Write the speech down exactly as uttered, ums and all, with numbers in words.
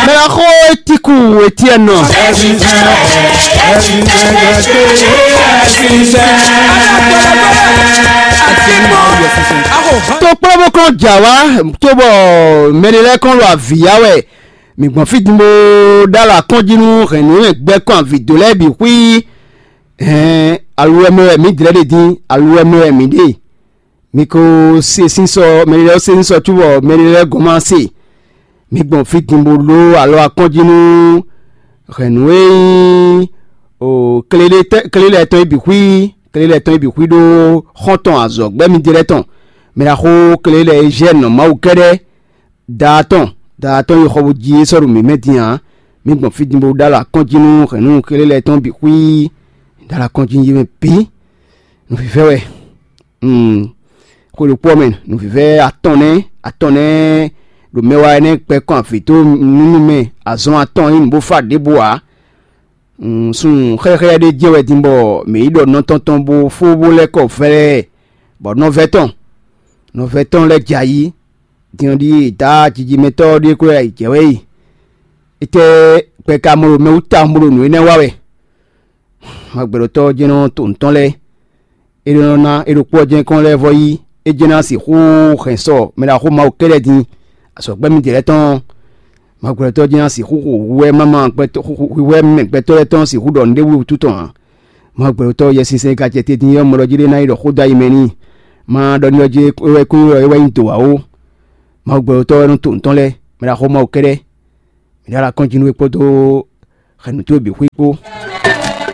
Mɛ ɔ́ xó Tíku Etiɛ́nɔ. Tó kplɔ́ bó kɔn jà wá, tó bɔ mɛɖé lɛ́ɛ kɔn ɖo avǐ ya wɛ. Mǐ gbɔn fí din bó ɖó alɔ akɔ́njí nú hɛ̌nnu e gbɛ́ kɔn avǐ dó lɛ́ɛ bǐ xwí. Hɛn aluwɛ mɛ wɛ mǐ dlɛ́ ɖe din, aluwɛ mɛ wɛ mǐ ɖe. Mi ko se sínsɔ, mɛɖé lɛ́ɛ se sínsɔ cóbɔ mɛɖé lɛ́ɛ gɔ́n ma se. Mi gbɔn fí din bó ɖó alɔ akɔ́njí nú hɛ̌nnu e nyí klélé tɔn e bǐ xwí, klélé tɔn e bǐ xwí ɖó xɔ́ntɔn azɔ̌gbɛ́ mi ɖe lɛ́ɛ tɔn. Mɛ ɖaxó klélé e zɛ nɔ Mawu kɛ́ɖɛ́, daa tɔn, daa tɔn yi xɔ bó jí é sɔ́ ɖo mǐ mɛ din ǎ. Mi gbɔn fí din bó ɖó alɔ akɔ́njí nú hɛ̌nnu klélé tɔn bǐ xwí. Ɖó alɔ akɔ́njí yé mɛ bǐ. Nǔvívɛ́ wɛ. Xwe ɖokpó ɔ́ mɛ, nǔvívɛ́ atɔn nɛ́, atɔn nɛ́ ɖo mɛ wa énɛ́ gbɛ́ kɔn avǐ dó nú mɛ azɔn atɔn nyí nǔ bó fá ɖěbǔ ǎ. Sun xɛ́xɛ́ ɖé jɛ́n wɛ din bɔ mǐ yi ɖɔ nɔ tɔn tɔn bó fó bó lɛ́ kɔ vɛlɛɛ, bɔ nɔvɛ́ tɔn, nɔvɛ́ tɔn lɛ́ jɛ ayǐ. Din ɔ́ ɖíe dǎ jijimɛtɔ́ ɔ́ ɖíe kó lɛ́ jɛ wɛ yi. Étɛ́ gbɛ ka mɔ ɖo mɛ wú tawun bó ɖo nǔ énɛ́ wa wɛ? Magbɛɖotɔ́ ɔ́ jɛ́n nɔ to nǔ tɔn lɛ́ɛ. É nɔ ná é ɖokpó ɔ́ jɛ́n kɔn lɛ́ vɔ yí, é jɛ́n ná sixú hɛn sɔ mɛ ɖaxó Mawu kɛ́ɖɛ́ din. Azɔ̌gbɛ́ mitɔn lɛ́ɛ tɔn, Magbɛɖotɔ́ jɛ́n ná sixú xo hwíhwɛ́ mama gbɛtɔ́, hwíhwɛ́ mɛ gbɛtɔ́ lɛ́ɛ tɔn sixú ɖɔ nǔɖé wútu tɔn ǎ. Magbɛɖotɔ́ Yɛsinsɛn ka jɛ te din é ɔ́, mɔ ɖɔ jí ɖé ná yi ɖɔ xó dó ayi mɛ n'i. Ma ɖɔ n'i ɔ́ jí é wɛ kún ylɔ́ é wɛ nyí dǒ ǎ ó. Mawu gbɛɖotɔ́ wɛ nɔ to nǔ tɔn lɛ́ɛ, mɛ ɖaxó Mawu kɛ́ɖɛ́. Mǐ ɖó alɔ akɔ́njí nú we kpódó hɛ̌nnu towe bǐ xwí kpó.